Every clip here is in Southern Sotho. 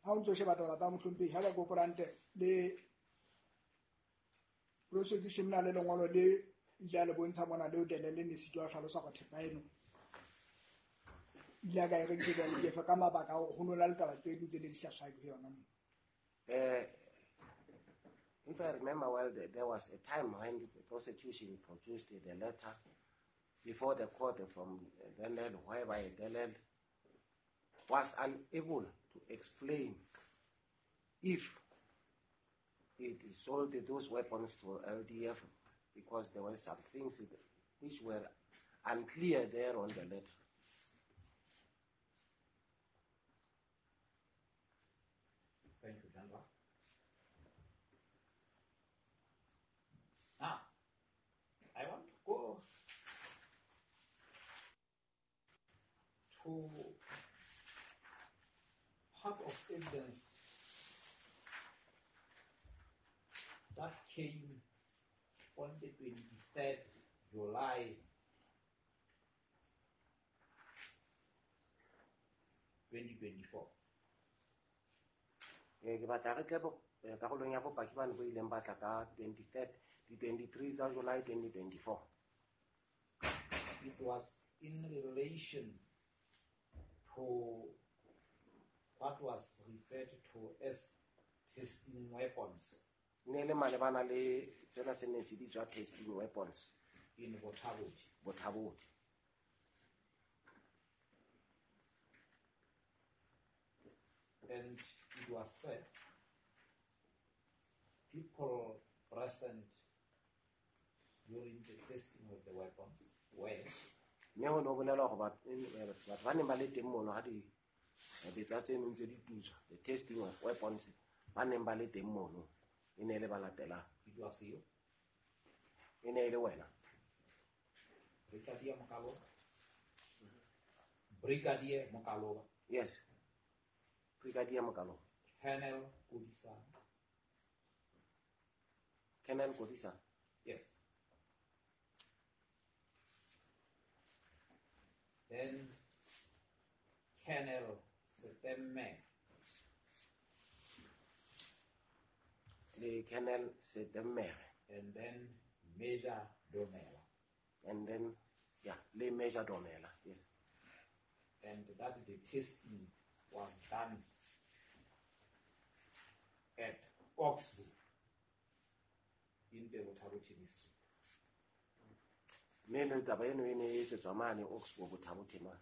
Ha o ntso sheba taba tsa mohlomphehi, ha ba ke hopola hantle le prosecution na le lengolo le ile a le bontsha mona leo Delele ne sitwa ho hlalosa hore thepa eno ile a ka e rekisetsa LDF ka mabaka a hore ho no na le taba tse ding tse ne di sa hlake ho yona moo. If I remember well, there was a time when the prosecution produced the letter before the court from Delele, whereby Delele was unable to explain if it sold those weapons to LDF because there were some things which were unclear there on the letter. Thank you, General. Now, I want to go to part of evidence that came on the 23rd July 2024. Ke batla re tle karolong ya bopaki bane bo ileng ba tla ka 23rd, di 23 tsa July 2024. It was in relation to what was referred to as testing weapons. Ne le malebana le tsena se neng se bitswa testing weapons. In Botha-Bothe. Botha-Bothe. And it was said people present during the testing of the weapons were Mme ho no bolelwa hore batho ba neng ba le teng mono ha di betsa tse neng tse di tutswa, the testing of weapons, ba neng ba le teng mono e ne e le ba latelang. It was you. E ne e le wena. Brigadier Mokaloba. Brigadier Mokaloba. Yes. Brigadier Mokaloba. Colonel Kodisang. Colonel Kodisang. Yes. Then Colonel Setemme. Le Colonel Setemme. And then Major Domela. And then, yeah, le Major Domela. Yes. And that the testing was done at Oxbow in the Botha-Bothe district. Mme le taba eno e ne e etsetswa mane Oxbow Botha-Bothe mane.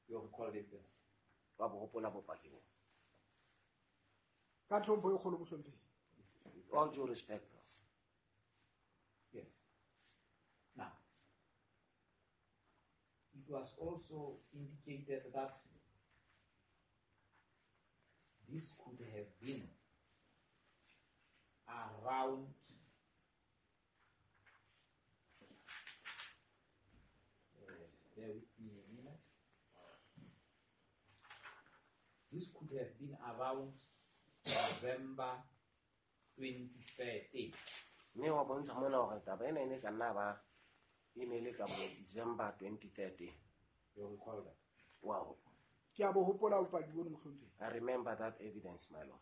You recall the evidence? Wa bo hopola bopaki bo. Ka tlhompho e kgolo mohlomphehi. With all due respect. Yes. Now, it was also indicated that this could have been around bear with me a minute. This could have been around December 2013. Mme wa bontsha mona hore taba ena e ne ka nna ba e ne le ka bo December 2013. You recall that? Wow. Ke a bo hopola bopaki bono mohlomphehi. I remember that evidence, my lord.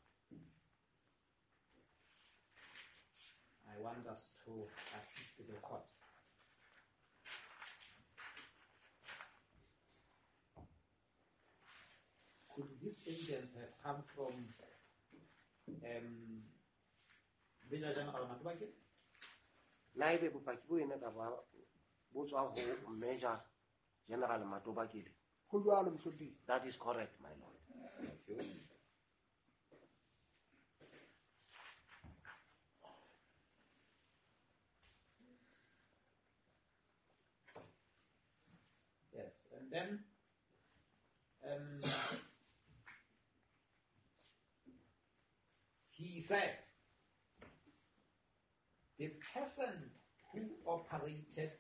I want us to assist the court. Could this evidence have come from Major General Matobakele? Na ebe bopaki bo ene ka ba bo tswa ho Major General Matobakele? Ho jwalo, mohlomphehi. That is correct, my lord. Thank you. Yes, and then he said the person who operated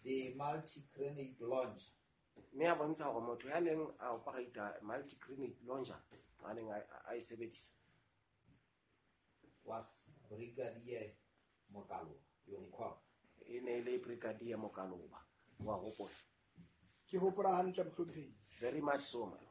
the multi-grenade launcher. Mme a bontsha hore motho ya neng a operate multi-grenade launcher, a neng a e sebedisa, was Brigadier Mokaloba. You recall? E ne e le Brigadier Mokaloba. Wa hopola? Ke hopola hantle, mohlomphehi. Very much so, my lord.